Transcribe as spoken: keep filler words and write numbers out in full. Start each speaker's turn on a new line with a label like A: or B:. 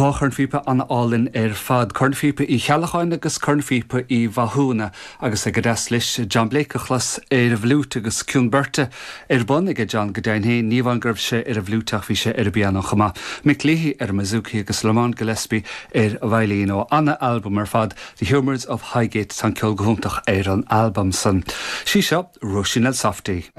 A: Dhá chornphíopa an-álainn ar fad cornphíopa Uí Cheallacháin agus cornphíopa Uí Mhathúna agus go deas leis John Blake a chlos ar an bhfliúit agus cion beirte ar bun ag John go deimhin féin ní amháin go raibh sé ar an bhfliúit ach bhí sé ar an bpianó chomh maith. Mick Leahy ar an mbouzouki agus Lamont Gillespie ar veidhlín ó ana-albam ar fad The Humours of Highgate tá ceol go hiontach ar an albam san. Sí seo Róisín Softy.